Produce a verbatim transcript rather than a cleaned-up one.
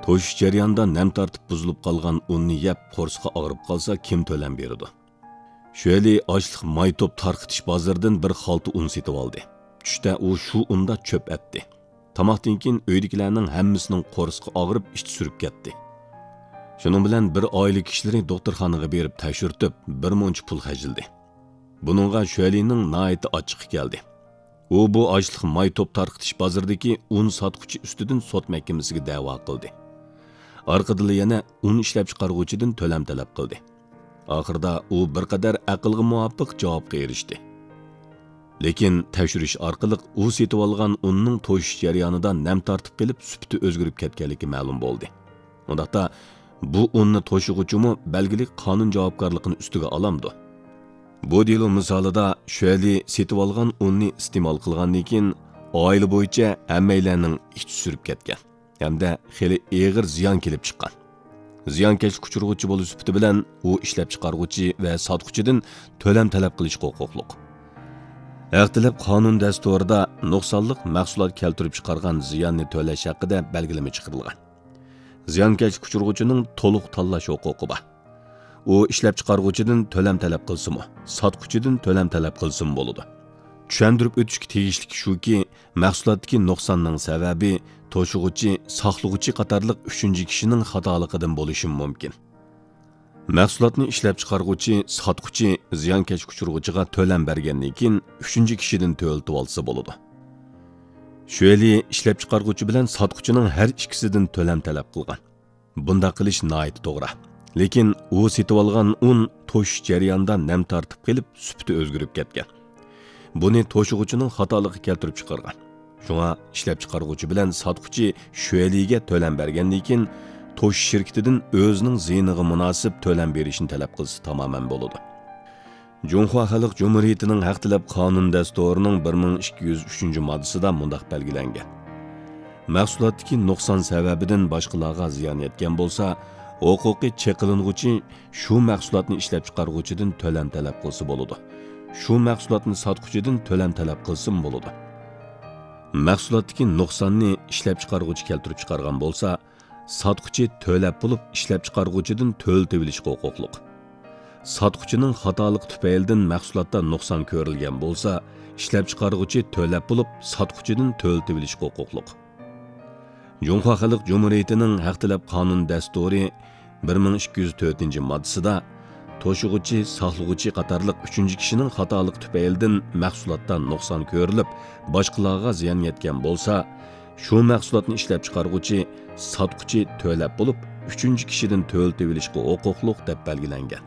توشۇش جەريانىدا نەم تارتىپ بۇزۇلۇپ قالغان ئۇننى يەپ قورسىقى ئاغرىپ قالسا كىم تۆلەم بېرىدۇ؟ شۆلى ئاشلىق مايتوپ تارقىتىش بازىرىدىن بىر خالتا ئۇن سېتىۋالدى. چۈشتە ئۇ شۇ ئۇندا چۆپ ئەتتى. تاماقتىن كېيىن ئۆيدىكىلەرنىڭ ھەممىسىنىڭ قورسىقى ئاغرىپ ئىچى سۈرۈپ كەتتى. شۇنىڭ بىلەن بىر ئائىلە كىشىلىرى دوختۇرخانىغا بېرىپ تەكشۈرتۈپ بىر مۇنچە پۇل خەجلىدى. بۇنىڭغا شۆلىنىڭ ناھايىتى ئاچچىقى كەلدى. ئۇ بۇ ئاشلىق مايتوپ تارقىتىش بازىرىدىكى ئۇن ساتقۇچى ئۈستىدىن سوت مەھكىمىسىگە دەۋا قىلدى. ئارقىدىنلا يەنە ئۇن ئىشلەپچىقارغۇچىدىن تۆلەم تەلەپ قىلدى. ئاخىرىدا ئۇ بىر قەدەر ئەقىلگە مۇۋاپىق جاۋابقا ئېرىشتى. لېكىن تەكشۈرۈش ئارقىلىق ئۇ سېتىۋالغان ئۇننىڭ توشۇش جەريانىدا نەم تارتىپ قېلىپ سۈپىتى ئۆزگىرىپ كەتكەنلىكى مەلۇم بولدى. ئۇنداقتا بۇ ئۇننى توشۇغۇچىمۇ بەلگىلىك قانۇن جاۋابكارلىقىنى ئۈستىگە ئالامدۇ؟ بۇ دېلو مىسالىدا شۆلى سېتىۋالغان ئۇننى ئىستېمال قىلغاندىن كېيىن ئائىلە بويىچە ھەممەيلەننىڭ ئىچى سۈرۈپ كەتكەن ھەمدە خېلى ئېغىر زىيان كېلىپ چىققان. زىيانكەشلىك ئۇچرىغۇچى بولۇش سۈپىتى بىلەن ئۇ ئىشلەپچىقارغۇچى ۋە ساتقۇچىدىن تۆلەم تەلەپ قىلىشقا ھوقۇقلۇق. ھەق تەلەپ قانۇن دەستۇرىدا نۇقسانلىق مەھسۇلات كەلتۈرۈپ چىقارغان زىياننى تۆلەش ھەققىدە بەلگىلىمە چىقىرىلغان. زىيانكەشلىك ئۇچرىغۇچىنىڭ تولۇق تاللاش ھوقۇقى بار. ئۇ ئىشلەپچىقارغۇچىدىن تۆلەم تەلەپ قىلسىمۇ، ساتقۇچىدىن تۆلەم تەلەپ قىلسىمۇ بولىدۇ. چۈشەندۈرۈپ ئۆتۈشكە تېگىشلىك شۇكى، مەھسۇلاتتىكى نۇقساننىڭ سەۋەبى توشۇغۇچى، ساقلىغۇچى قاتارلىق ئۈچىنچى كىشىنىڭ خاتالىقىدىن بولۇشى مۇمكىن. مەھسۇلاتنى ئىشلەپچىقارغۇچى، ساتقۇچى زىيانكەشلىك ئۇچرىغۇچىغا تۆلەم بەرگەندىن كېيىن، ئۈچىنچى كىشىدىن تۆلىتىۋالسا بولىدۇ. شۆلى ئىشلەپچىقارغۇچى بىلەن ساتقۇچىنىڭ ھەر ئىككىسىدىن تۆلەم تەلەپ قىلغان. بۇنداق قىلىش ناھايىتى توغرا. لېكىن ئۇ سېتىۋالغان ئۇن توشۇش جەريانىدا نەم تارتىپ قېلىپ، سۈپىتى ئۆزگىرىپ كەتكەن. بۇنى توشۇغۇچىنىڭ خاتالىقى كەلتۈرۈپ چىقارغان. شۇڭا ئىشلەپچىقارغۇچى بىلەن ساتقۇچى شۆلىگە تۆلەم بەرگەندىن كېيىن، توشۇش شىركىتىدىن ئۆزىنىڭ زىيىنىغا مۇناسىپ تۆلەم بېرىشنى تەلەپ قىلسا تامامەن بولىدۇ. جۇڭخۇا خەلق جۇمھۇرىيىتىنىڭ ھەق تەلەپ قانۇن دەستۇرىنىڭ بىر مىڭ ئىككى يۈز ئۈچىنچى ماددىسىدا مۇنداق بەلگىلەنگەن: مەھسۇلاتتىكى نۇقسان سەۋەبىدىن باشقىلارغا زىيان يەتكەن بولسا، ھوقۇقى چېقىلىنغۇچى شۇ مەھسۇلاتنى ئىشلەپچىقارغۇچىدىن تۆلەم تەلەپ قىلسا بولىدۇ. شۇ مەھسۇلاتنى ساتقۇچىدىن تۆلەم تەلەپ قىلسىمۇ بولىدۇ. مەھسۇلاتتىكى نۇقساننى ئىشلەپچىقارغۇچى كەلتۈرۈپ چىقارغان بولسا، ساتقۇچى تۆلەپ بولۇپ، ئىشلەپچىقارغۇچىدىن تۆلىتىۋېلىشقا ھوقۇقلۇق. ساتقۇچىنىڭ خاتالىقى تۈپەيلىدىن مەھسۇلاتتا نۇقسان كۆرۈلگەن بولسا، ئىشلەپچىقارغۇچى تۆلەپ بولۇپ، ساتقۇچىدىن تۆلىتىۋېلىشقا ھوقۇقلۇق. جۇڭخۇا خەلق جۇمھۇرىيىتىنىڭ ھەق تەلەپ قانۇن دەستۇرى بىر مىڭ ئىككى يۈز تۆتىنچى ماددىسىدا، توشۇغۇچى، ساقلىغۇچى قاتارلىق ئۈچىنچى كىشىنىڭ خاتالىقى تۈپەيلىدىن مەھسۇلاتتا نۇقسان كۆرۈلۈپ، باشقىلارغا زىيان يەتكەن بولسا، شۇ مەھسۇلاتنى ئىشلەپچىقارغۇچى، ساتقۇچى تۆلەپ بولۇپ، ئۈچىنچى كىشىدىن تۆلىتىۋېلىشقا ھوقۇقلۇق، دەپ بەلگىلەنگەن.